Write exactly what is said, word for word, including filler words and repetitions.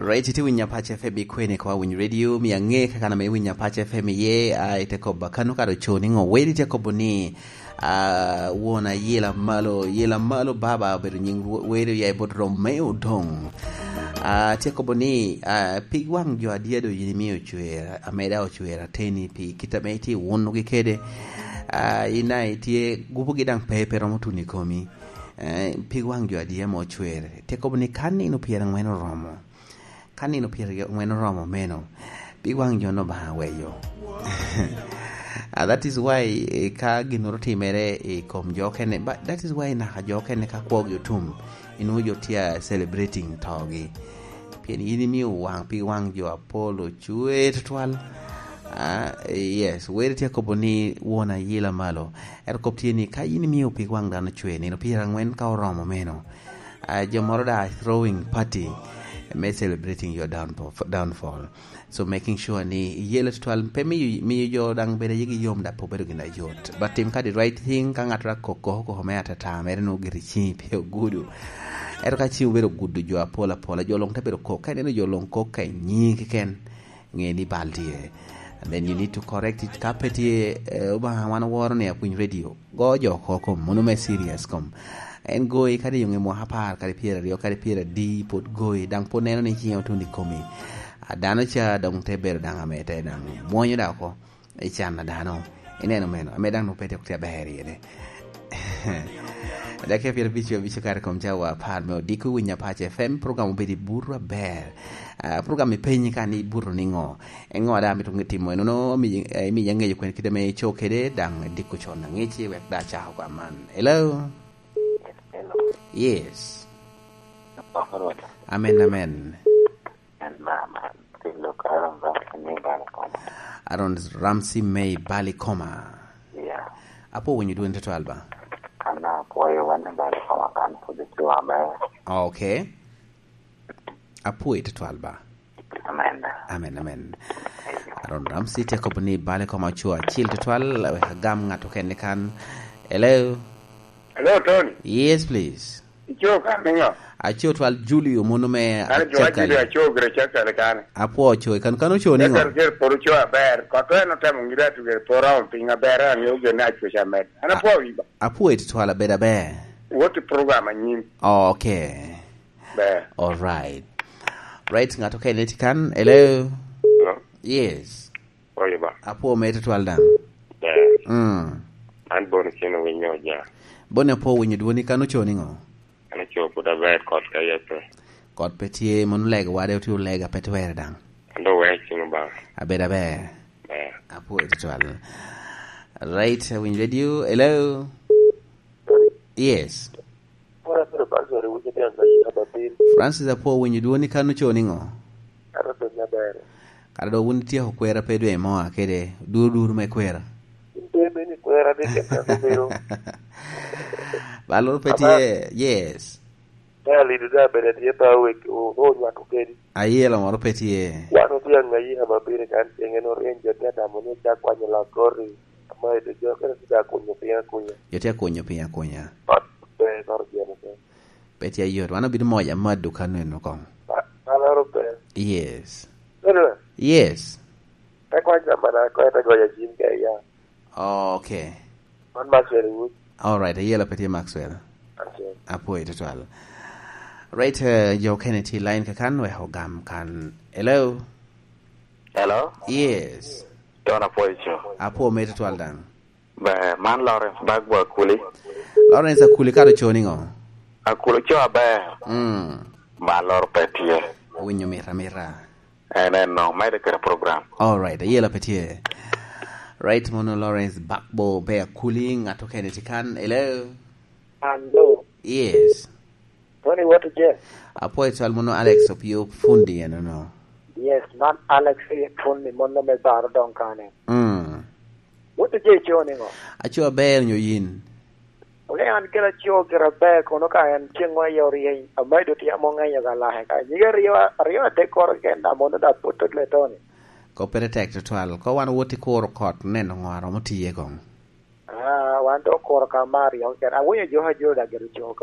Right, iti winya Apac F M ikwene kwa Winyo Radio mi ang'e kaka na me winya Apac F M ye uh, ite koba kanu kado choni ngo wedi te kobo ni uh, wona yela malo yela malo baba obedo nying wedi ya bot Romeo Dong uh, te kobo ni uh, pig wang jo adiedo yini mi ochwer ameda ochwer ateni pi kita me iti wunu gi kede uh, ina itie gupo gi dang pepe romo tuni komi uh, pig wang jo adie mo ochwer te kobo ni kanino piero ang'wen oromo kanino piero ang'wen oromo meno pig wang jo no ba weyo. Uh, that is why eh, ka gimoro timere e kom jokene, but that is why naka jokene ka kwogi otum inuo jotia celebrating togi pien in imiyo wang pi wang jo Apollo chwe tutwal. Uh, yes wer tie kobo ni wona yila malo ero kop tie ni ka in imiyo pi wang dhano chwe nino piero ang'wen ka oromo meno uh, jomoro da throwing party me celebrating your downfall, downfall. So making sure ni yelo tutwal pe miyo miyo jo dang bede yigi yom da po bedo gina yot, but tim ka the right thing ka ng'ato ra koko ko me atata mere no giri chi pe ogudu ero ka chi bedo gudu jo apola pola jo long ta bedo kok ka ineno jo long kok ka nying ken ng'e ni bal tie and then you need to correct it. Ka pe tie uh, uba wan woro ne akwiny radio go jo koko mono me serious kom en goyi kadi yonge mo apar kadi piero ariyo kadi piero adi pod goyi dang pod neno ni chieng otundi komi dano cha dong te bedo dang amete dang mwonyo da oko ichana dano ineno meno ame dang nopete ok tia ber yene. Dakika piero abich abich kar kom chawa apar me odiko winyo Apac F M program obedi buru aber uh, program ipenyi ka ni buru ni ng'o e ng'o da mito timo eno no mi mi ng'eyo kwen kide me chokede dang diko chon ng'ichi wek da chako kwa man. Hello. Hello. Yes, amen, amen. Aaron Ramsey May Balikoma. Yeah. Apo winyo duen toto alba. Ana puoyo wane Balikoma kan pudhi chiwa ber. Okay, apo itoto alba. Amen. Amen, amen. Aaron Ramsey te ni Balikoma chua achiel tutwal we gam ng'ato kende kan. Hello. Hello, Tony. Yes, please. Icho kamingo. Achio twal Julio mono me. An jo ajiri acho gre chakal kane. Apo ocho kan kan ocho ningo. Chakal ger poru cho aber. Ko to eno temo ngira tu ger pora on pinga ber an yo ge na cho chamet. Ana po wiba. Apo it twal beda ber. What program anyim. Okay. Ber. All right. Right, ng'ato kende tikan. Hello. Hello? Yes. Oye ba. Apo meto twal dang. Ber. Mm. An bon chino winyo ja. Bone apo winyo duoni kan ocho ningo. An chopo da ber kot ka yepe. Kot petie mon leg wade otu lega petwer dang. Ando we chino ba. Abeda ber. Ber. Apo it twal. Right, Winyo Radio. Hello. Yes. Francis apo winyo duoni kan ocho ningo. Kara do wun tie kwera pedo e moa kede dur dur me kwera. Balor petie, yes. Ayielo moro petie. Wan dhiang' ayiha mabiro kan chieng' en orieny jote adamo ni chak kwanyo lak kori ama edo jo kendo tida kunyo piny akunya. Jote kunyo piny akunya. Ber kor jieno te. Petie yot wan obiro moja madu kaneno kong. Aloro ber. Yes. Anyway, Yes. takwanja mana koeta goyo jim ke ya. Okay. Man Maxwell Wood. All right, ayielo petie Maxwell. Okay. Apo ito twal. Right, uh, jo Kennedy line kakan we hogam kan. Hello. Hello. Yes. Tona poicho. Apo meto twal dang. Ber. Man Lawrence Bagbo Akuli. Lawrence akuli karo choningo. Akuli cho ber. Mm. Ba lor petie. Winyo mira mira. En en no mede kere program. All right, ayielo petie. Right, mono Lawrence Bakbo be akuli ng'ato Kennedy kan. Hello. Hello. Yes. Tony what je? Apo ito mono Alex Opio fundi ano no. Yes, man Alex fundi mono me baro don kane. Mm. What je choni ngo? Acho ber nyo yin. Ole an kela chio kera ber kono ka en chieng' ma yori amaido ti amo ng'eny ga lahe ka nyiga riyo riyo te kor kenda mondo da puto le Tony. Ko pere tek to twal ko wan wuoti kor kot neno ng'waro motiye kong. Ah, wan to kor ka mari ok ken awinjo jo ha jo da gero choko.